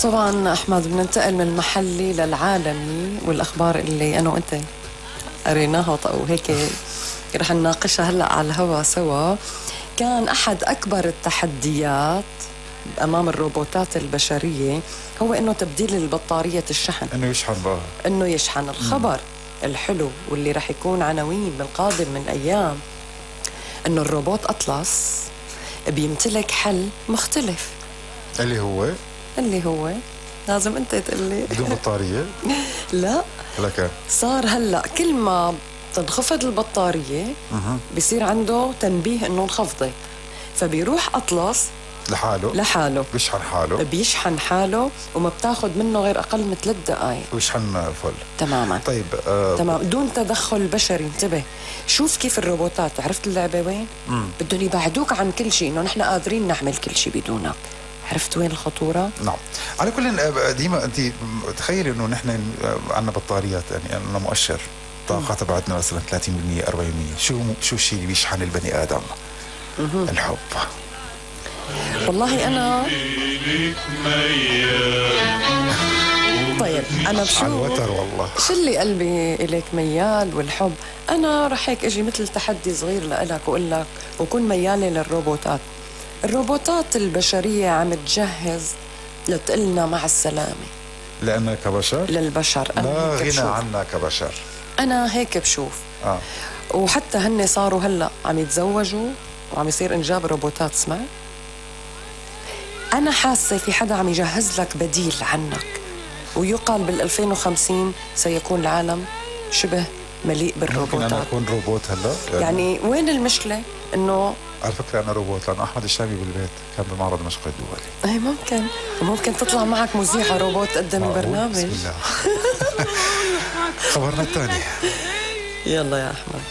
طبعا أحمد بننتقل من المحلي للعالمي، والأخبار اللي أنا وأنت قريناها وهيك رح نناقشها هلأ على الهوا سوا. كان أحد أكبر التحديات أمام الروبوتات البشرية هو إنه تبديل البطارية الشحن، إنه يشحن بقى، إنه يشحن. الخبر الحلو واللي رح يكون عناوين بالقادم من أيام إنه الروبوت أطلس بيمتلك حل مختلف. اللي هو لازم أنت تقلي. بدون بطارية؟ لا، لك صار هلأ كل ما تنخفض البطارية بيصير عنده تنبيه إنه انخفضت، فبيروح أطلس لحاله بيشحن حاله وما بتاخد منه غير أقل من 3 دقائق ويشحن فل تماما. طيب تمام، دون تدخل بشري. انتبه، شوف كيف الروبوتات، عرفت اللعبة وين؟ بدهم يبعدوك عن كل شيء، إنه نحن قادرين نعمل كل شيء بدونك. عرفت وين الخطورة؟ نعم. على كل ديما أنت تخيلي إنه نحن عندنا بطاريات، يعني عندنا مؤشر طاقة تبعتنا مثلا 30% 40%. شو الشيء اللي بيشحن البني آدم؟ الحب. والله أنا طيب أنا بشوف الوتر والله شو اللي قلبي إليك ميال والحب. أنا رح هيك أجي مثل تحدي صغير لإلك وأقول لك وكون ميالي للروبوتات. الروبوتات البشرية عم تجهز لتقلنا مع السلامة لأننا كبشر للبشر. لا غنى عنا كبشر. أنا هيك بشوف. وحتى هن صاروا هلأ عم يتزوجوا وعم يصير إنجاب روبوتات. اسمع، أنا حاسة في حدا عم يجهز لك بديل عنك، ويقال بال2050 سيكون العالم شبه مليء بالروبوتات. ممكن أنا أكون روبوت هلأ؟ يعني وين المشكلة؟ إنه على فكرة أنا روبوت، لأنه أحمد الشامي بالبيت كان بمعرض دمشق الدولي. أي ممكن تطلع معك مذيعة روبوت تقدم البرنامج. بسم الله. خبرنا الثاني. يلا يا أحمد.